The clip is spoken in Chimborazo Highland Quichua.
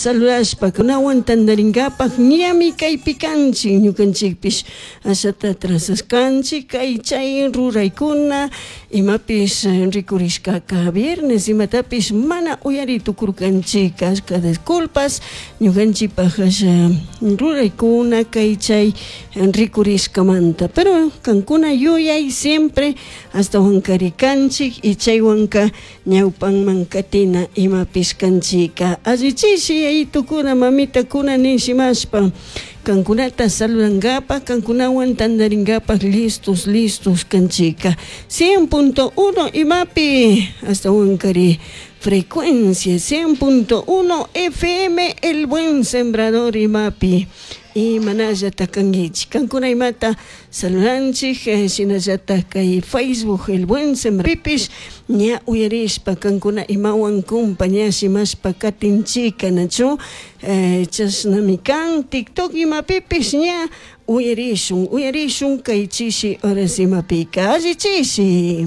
Saludashpa kunawan tantarinkapak ñami kaypi kanchik ñukanchikpish ashata trazaskanchik kay chay ruraykuna imapish rikurishkaka viernes imatapish mana uyari tukurkanchik ashka disculpas ñukanchikpak asha ruraykuna kay chay rikurishkamanta pero kankuna yuyay siempre ashtawankari kanchik y chaywanka ñawpanman katina imapish kanchika allichishi yayitukuna mamitakuna nishimashpa kankunata saludankapak kankunawan tantarinkapak listos listos kanchika 100.1 imapi ashtawankari frecuencia 100.1 FM El Buen Sembrador imapi imanallata kankichik kankuna imata saludanchik shinallatak kay Facebook El Buen Sembradorpipish ña uyarishpa kankuna imawan compañashimashpa katinchika nachu chashnami kan TikTok imapipish ña uyarishun uyarishun kay chishi horas imapika alli chishi.